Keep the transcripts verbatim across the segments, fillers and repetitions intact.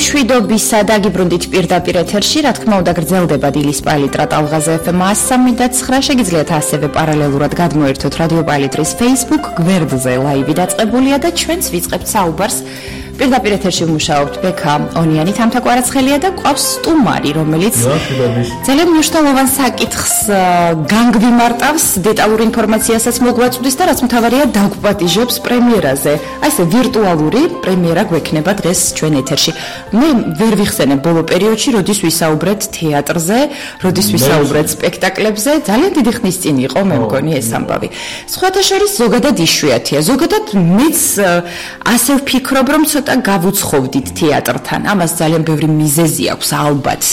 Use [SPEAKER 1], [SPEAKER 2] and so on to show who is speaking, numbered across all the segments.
[SPEAKER 1] მშვიდობისა დაგიბრუნდით პირდაპირ ეთერში, რა თქმა უნდა გრძელდება დილის პალიტრა ტალღაზე ეფ ემ one oh three point nine, შეგიძლიათ ასევე პარალელურად გადმოერთოთ რადიო პალიტრის Facebook გვერდზე, ლაივი დაწყებულია და ჩვენც ვიწყებთ საუბარს. პირდაპირ ეთერში ვმუშაობთ ბექა ონიანი, თამთა კვარაცხელია და გვყავს სტუმარი, რომელიც ძალიან მნიშვნელოვან საკითხს განგვიმარტავს, დეტალურ ინფორმაციასაც მოგვაწვდის და რაც მთავარია დაგვპატიჟებს პრემიერაზე. აი ესე ვირტუალური პრემიერა გვექნება დღეს ჩვენ ეთერში. მე ვერ ვიხსენებ ბოლო პერიოდში, როდის ვისაუბრეთ თეატრზე, როდის ვისაუბრეთ სპექტაკლებზე, ძალიან დიდი ხნის წინ იყო, მე მგონი ეს ამბავი. სხვათა შორის ზოგადად იშვიათია, ზოგადად მეც ასე ვფიქრობ, რომ ცოტა გავუცხოვდით თეატრთან. ამას ძალიან ბევრი მიზეზი აქვს, ალბათ.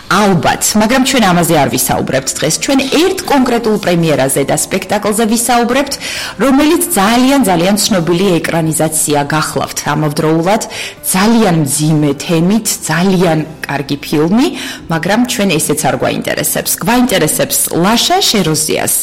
[SPEAKER 1] ალბათ, მაგრამ ჩვენ ამაზე არ ვისაუბრებთ დღეს. ჩვენ ერთ კონკრეტულ პრემიერაზე და სპექტაკლზე ვისაუბრებთ, რომელიც ძალიან ძალიან ცნობილი ეკრანიზაცია გახლავთ ამავდროულად, ძალიან მძიმე თემით, ძალიან კარგი ფილმი, მაგრამ ჩვენ ესეც არ გვაინტერესებს. გვაინტერესებს ლაშა შეროზიას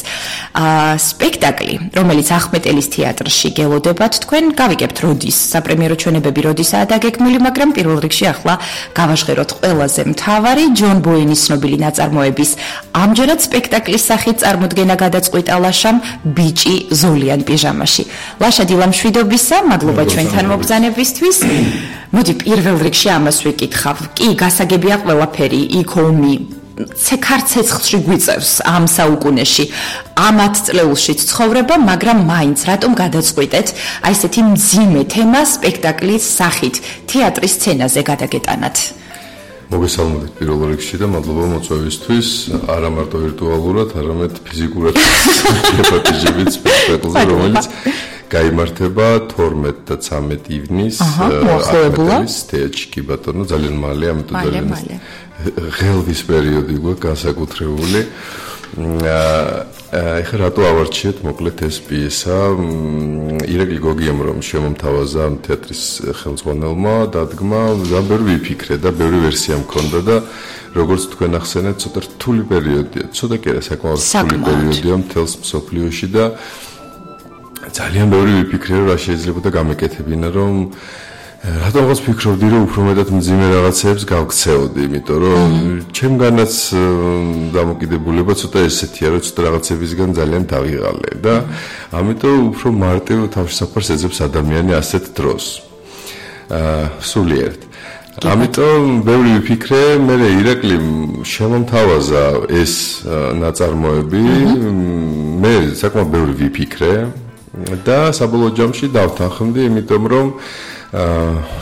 [SPEAKER 1] სპექტაკლი, რომელიც ახმეტელის თეატრში გელოდებათ. თქვენ გავიგებთ როდის საპრემიერო ჩვენებები როდისაა დაგეგმილი, მაგრამ პირველ რიგში ახლა გავაჟღეროთ ყველაზე მთავარი ჯონ ბოენის ცნობილი ნაწარმოების ამჯერად სპექტაკლის სახით წარმოდგენა გადაწყვიტა ლაშამ ბიჭი ზოლიან პიჟამაში. ლაშა დილამშვიდობისა, მადლობა ჩვენთან მობრძანებისთვის. მოდი პირველ რიგში ამას ვიკითხავ. კი, გასაგებია ყველაფერი, იქ ომი ცეცხლში გვიწევს ამ საუკუნეში, ამ ათწლეულშიც ცხოვრება, მაგრამ მაინც რატომ გადაწყვიტეთ აი ესეთი მძიმე თემა სპექტაკლის სახით თეატრის სცენაზე გადაგეტანათ?
[SPEAKER 2] მოგესალმებით პირველ რიგში და მადლობა მოწვევისთვის, არა მარტო ვირტუალურად, არამედ ფიზიკურად გეპატიჟებით სპექტაკლზე, რომელიც გაიმართება თორმეტ და ცამეტ ივნის ახმეტელის თეატრში, კი ბატონო, ძალიან მალე, ამიტომ ძალიან ღელვის პერიოდი გვაქვს განსაკუთრებული. ეხლა რატო ავარჩიეთ მოკლედ ეს პიესა? ირაკლი გოგიამ რომ შემომთავაზა თეატრის ხელმძღვანელმა დადგმა, ძალიან ბევრი ვიფიქრე და ბევრი ვერსია მქონდა და როგორც თქვენ ახსენეთ, ცოტა რთული პერიოდია, ცოტა კი არა, საკმაოდ რთული პერიოდია მთელს მსოფლიოში და ძალიან ბევრი ვიფიქრე, რომ რა შეიძლება და გამეკეთებინა, რომ რატომღაც ვფიქრობდი, რომ უფრო მეტად მძიმე რაღაცებს გავქცეოდი, იმიტომ რომ ჩემგანაც დამოკიდებულება ცოტა ესეთია, რომ ცოტა რაღაცებისგან ძალიან დავიღალე და ამიტომ უფრო მარტივ თავშესაფარს ეძებს ადამიანი ასეთ დროს. სულიერთ. ამიტომ ბევრი ვიფიქრე, მე ირაკლიმ შემომთავაზა ეს ნაწარმოები, მე საკმაოდ ბევრი ვიფიქრე და საბოლოო ჯამში დავთანხმდი, იმიტომ რომ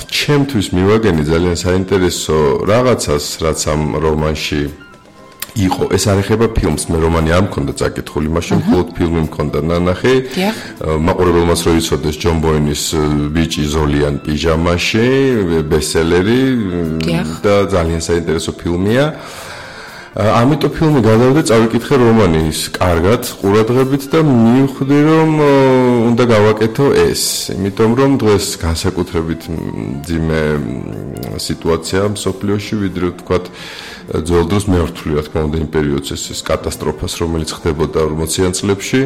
[SPEAKER 2] ჩემთვის მივაგენი ძალიან საინტერესო რაღაცას, რაც ამ რომანში იყო. ეს არ ეხება ფილმს, მე რომანი არ მქონდა წაკითხული, მაშინ მხოლოდ ფილმი მქონდა ნანახი. მაყურებელმაც რო იცოდეს ჯონ ბოენის ბიჭი ზოლიან პიჟამაში, ბესტსელერი და ძალიან საინტერესო ფილმია. ამიტომ ფილმი გადავდა, წავიკითხე რომანის კარგად, ყურადღებით და მივხვდი, რომ უნდა გავაკეთო ეს. იმიტომ რომ დღეს განსაკუთრებით მძიმე სიტუაცია მსოფლიოში, ვიდრე ვთქვათ ძველ დროს მეორთული, რა თქმა უნდა, იმ პერიოდს ეს კატასტროფას, რომელიც ხდებოდა ორმოციან წლებში.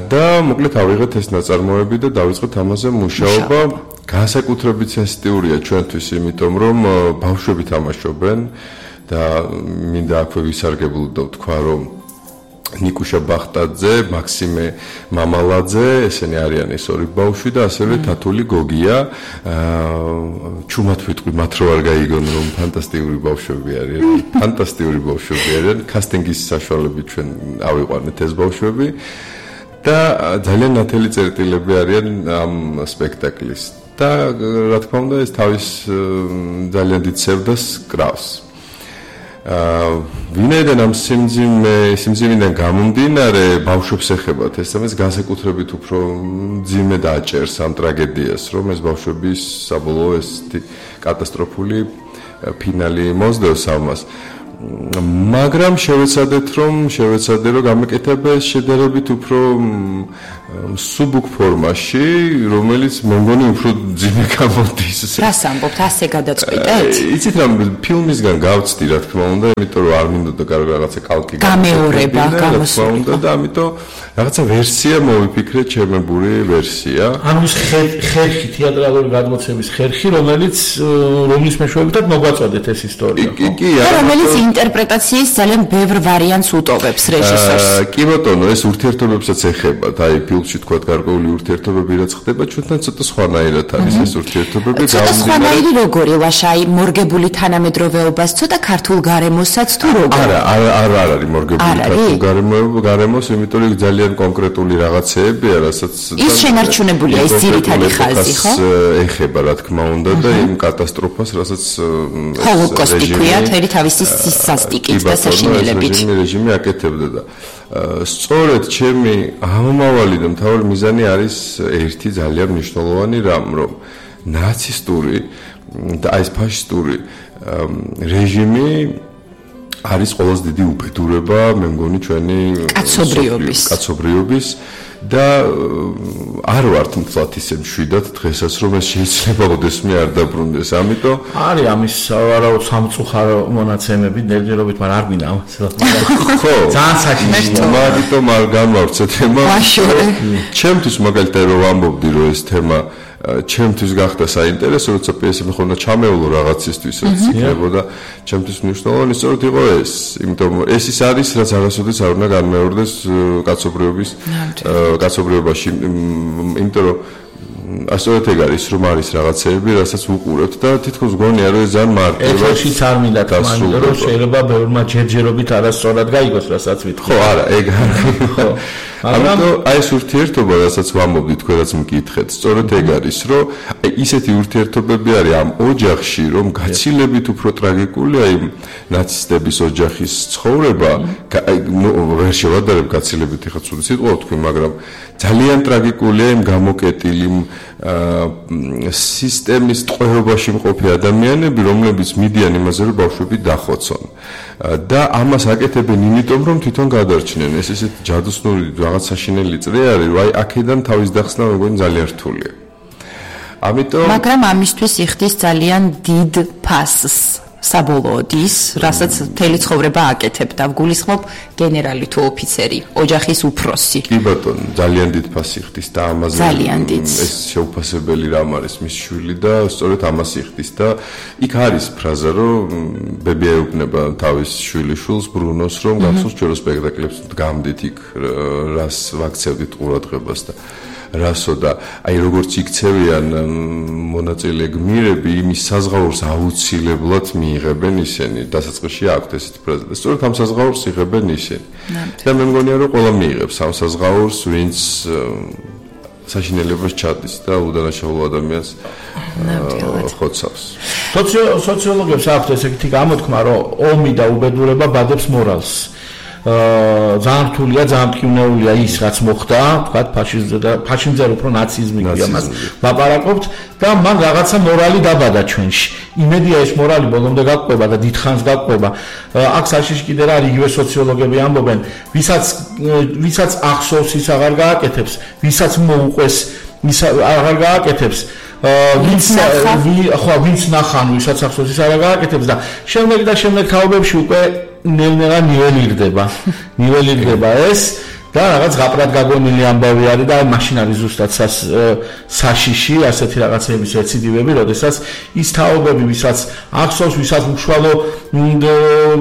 [SPEAKER 2] და მოკლედ ავიღეთ ეს ნაწარმოები და დავიწყეთ ამაზე მუშაობა. განსაკუთრებით სენსიტიურია ჩვენთვის, იმიტომ რომ ბავშვები თამაშობენ და მინდა აქვე ვისარგებლო და ვთქვა, რომ ნიკუშა ბახტაძე, მაქსიმე მამალაძე, ესენი არიან ეს ორი ბავშვი და ასევე თათული გოგია. ჩუმად ვიტყვი, მათ რო არ გაიგონ, რომ ფანტასტიკური ბავშვები არიან, ფანტასტიკური ბავშვები არიან, კასტინგის საშუალებით ჩვენ ავიყვანეთ ეს ბავშვები და ძალიან ნათელი წერტილები არიან ამ სპექტაკლის. და რა თქმა უნდა, ეს თავის ძალიან დიდ სევდას კრავს. ვინაიდან ამ სიმძიმე სიმძიმიდან გამომდინარე ბავშვებს ეხებათ ეს ამას განსაკუთრებით უფრო მძიმე დააჭერს ამ ტრაგედიას, რომ ეს ბავშვების საბოლოო ეს კატასტროფული ფინალი მოსდევს ამას. მაგრამ შევეცადეთ რომ შევეცადე რომ გამეკეთება ეს შედარებით უფრო სუბუქ ფორმაში, რომელიც მე მგონი უფრო ძიმე გამოდის.
[SPEAKER 1] რას ამბობთ, ასე გადაწყვიტეთ?
[SPEAKER 2] იცით რა, ფილმისგან გავწდი რა თქმა უნდა, იმიტომ რომ არ მინდოდა კარგი რაღაცა კალკი
[SPEAKER 1] გამეორება გამოსული
[SPEAKER 2] და ამიტომ რაღაცა ვერსია მოვიფიქრე, ჩემებური ვერსია.
[SPEAKER 3] ანუ ის ხერხი თეატრალური გადმოცემის ხერხი, რომელიც რომლის მეშვეობითაც მოგვაწოდეთ ეს ისტორია.
[SPEAKER 2] კი, კი,
[SPEAKER 1] რომელიც ინტერპრეტაციის ძალიან ბევრ ვარიანტს უტოვებს რეჟისორს.
[SPEAKER 2] კი ბატონო, ეს ურთიერთობებსაც ეხება, აი ფილმში თქვა გარკვეული ურთიერთობები რაც ხდება, ჩვენთან ცოტა სხვანაირად არის ეს ურთიერთობები.
[SPEAKER 1] ცოტა სხვანაირი როგორი ლაშა, აი მორგებული თანამედროვეობას, ცოტა ქართულ გარემოსაც თუ როგორ?
[SPEAKER 2] არა, არა, არა არის მორგებული ქართულ გარემოს, იმიტომ რომ ძალიან კონკრეტული რაღაცეებია, რასაც
[SPEAKER 1] ის შენარჩუნებულია ის ძირითადი ხაზი, ხო?
[SPEAKER 2] ეხება რა თქმა უნდა და იმ კატასტროფას, რასაც
[SPEAKER 1] ჰოლოკოსტი ქვია, თერი თავისი სასტიკით და საშინელებით.
[SPEAKER 2] რეჟიმი რეჟიმი აკეთებდა და სწორედ ჩემი ამომავალი და მთავარი მიზანი არის ერთი ძალიან მნიშვნელოვანი რამ, რომ ნაცისტური და აი ეს ფაშისტური რეჟიმი არის ყველაზე დიდი უბედურება, მე მგონი ჩვენი
[SPEAKER 1] კაცობრიობის
[SPEAKER 2] კაცობრიობის და არ ვართ მთლად ისე მშვიდად დღესაც რომ ეს შეიძლება ოდესმე არ დაბრუნდეს. ამიტომ
[SPEAKER 3] არის ამის სავარაუდო სამწუხარო მონაცემები ნერვირობით, მაგრამ არ გვინდა ამას.
[SPEAKER 2] ხო,
[SPEAKER 3] ძალიან საშიშია.
[SPEAKER 2] მაგრამ არ განვავრცე თემა. ჩემთვის მაგალითად რომ ვამბობდი რომ ეს თემა ჩემთვის გახდა საინტერესო, როცა პიესები ხონდა ჩამეულო რაღაცისთვის, რაც იქნებოდა ჩემთვის მნიშვნელოვანი, სწორედ იყო ეს, იმიტომ რომ ეს ის არის, რაც არასოდეს არ უნდა განმეორდეს კაცობრიობის კაცობრიობაში, იმიტომ რომ ასოეთ ეგ არის, რომ არის რაღაცეები, რასაც ვუყურებთ და თითქოს გონია რომ ეს ძალიან მარტივად
[SPEAKER 3] ეთერშიც არ მინდა თქმა, რომ შეიძლება ბევრმა ჯერჯერობით არასწორად გაიგოს, რასაც ვიტყვი.
[SPEAKER 2] ხო, არა, ეგ ხო. ამიტომ აი ეს ურთიერთობა, რასაც ვამბობდი, თქვენაც მკითხეთ, სწორედ ეგ არის, რომ აი ისეთი ურთიერთობები არის ამ ოჯახში, რომ გაცილებით უფრო ტრაგიკულია იმ ნაცისტების ოჯახის ცხოვრება, აი ვერ შევადარებ გაცილებით ეხლა ცუდი სიტყვა ვთქვი, მაგრამ ძალიან ტრაგიკულია იმ გამოკეტილი სისტემის ტყვეობაში მყოფი ადამიანები, რომლებიც მიდიან იმაზე, რომ ბავშვები დახოცონ. და ამას აკეთებენ იმიტომ, რომ თვითონ გადარჩნენ. ეს ისეთი ჯადოსნური რაღაც საშინელი წრე არის, რომ აი აქედან თავის დახსნა მეგონი ძალიან რთულია. ამიტომ
[SPEAKER 1] მაგრამ ამისთვის იხდის ძალიან დიდ ფასს. საბოლოოდ ის, რასაც მთელი ცხოვრება აკეთებდა, ვგულისხმობ გენერალი თუ ოფიცერი, ოჯახის უფროსი.
[SPEAKER 2] კი ბატონო, ძალიან დიდ ფასს იხდის და ამაზე ეს შეუფასებელი რამ არის მის შვილი და სწორედ ამას იხდის და იქ არის ფრაზა, რომ ბები ეუბნება თავის შვილიშვილს ბრუნოს, რომ გახსოვს ჩვენ სპექტაკლებს გამდით იქ რას ვაქცევდით ყურადღებას და რასო და აი როგორც იქცევიან მონაწილე გმირები იმის საზღაურს აუცილებლად მიიღებენ ისინი დასაწყისში აქვთ ესეთი ფრაზა და სწორედ ამ საზღაურს იღებენ ისინი და მე მგონია რომ ყველა მიიღებს ამ საზღაურს ვინც საშინელებას ჩადის და უდანაშაულო ადამიანს ხოცავს
[SPEAKER 3] სოციოლოგებს აქვთ ესეთი გამოთქმა რომ ომი და უბედურება ბადებს მორალს ძალიან რთულია, ძალიან მტკივნეულია ის, რაც მოხდა, თქვათ, ფაშიზმზე და ფაშიზმზე უფრო ნაციზმი ქვია მას. ლაპარაკობთ და მან რაღაცა მორალი დაბადა ჩვენში. იმედია ეს მორალი ბოლომდე გაყვება და დიდხანს გაყვება. აქ საშიში კიდე რა იგივე სოციოლოგები ამბობენ, ვისაც ვისაც ახსოვს ის აღარ გააკეთებს, ვისაც მოუყვეს ის აღარ გააკეთებს. ვინც ხო ვინც ნახან ვისაც ახსოვს ის აღარ გააკეთებს და შემდეგ და შემდეგ თაობებში უკვე ნელ-ნელა ნიველირდება. ნიველირდება ეს და რაღაც გაპრად გაგონილი ამბავი არის და მაშინ არის ზუსტად საშიში ასეთი რაღაცების ეციდივები, როდესაც ის თაობები, ვისაც ახსოვს, ვისაც უშუალო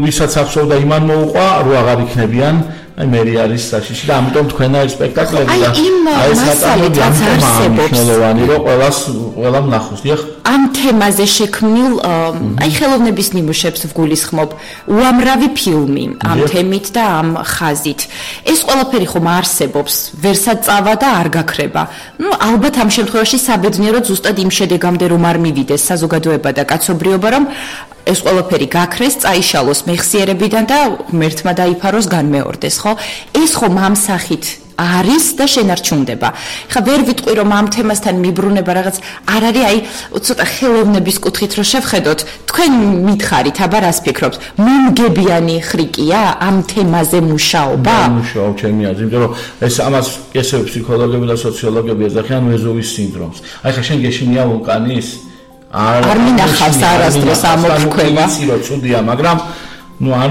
[SPEAKER 3] ვისაც ახსოვდა იმან მოუყვა, რო აღარ იქნებიან აი მე არის საშიში და ამიტომ თქვენა ეს სპექტაკლები და
[SPEAKER 1] აი ეს მასალით რაც არსებობს
[SPEAKER 3] მნიშვნელოვანი რომ ყველას ყველამ ნახოს დიახ
[SPEAKER 1] ამ თემაზე შექმნილ აი ხელოვნების ნიმუშებს ვგულისხმობ უამრავი ფილმი ამ თემით და ამ ხაზით ეს ყველაფერი ხომ არსებობს ვერსად წავა და არ გაქრება ნუ ალბათ ამ შემთხვევაში საბედნიეროდ ზუსტად იმ შედეგამდე რომ არ მივიდეს საზოგადოება და კაცობრიობა რომ ეს ყველაფერი გაქრეს, წაიშალოს მეხსიერებიდან და ღმერთმა დაიფაროს განმეორდეს, ხო? ეს ხომ ამ სახით არის და შენარჩუნდება. ხა ვერ ვიტყვი რომ ამ თემასთან მიბრუნება რაღაც არ არის აი ცოტა ხელოვნების კუთხით რომ შევხედოთ თქვენ მითხარით აბა რას ფიქრობთ მომგებიანი ხრიკია ამ თემაზე მუშაობა?
[SPEAKER 3] მუშაობ ჩემი აზრით, იმიტომ რომ ეს ამას ესე ფსიქოლოგები და სოციოლოგები ეძახიან ვეზუვის სინდრომს. აი ხა შენ გეშინია ვულკანის
[SPEAKER 1] არ მინახავს არასდროს ამოფრქვევა.
[SPEAKER 3] იცი რომ ცუდია, მაგრამ ნუ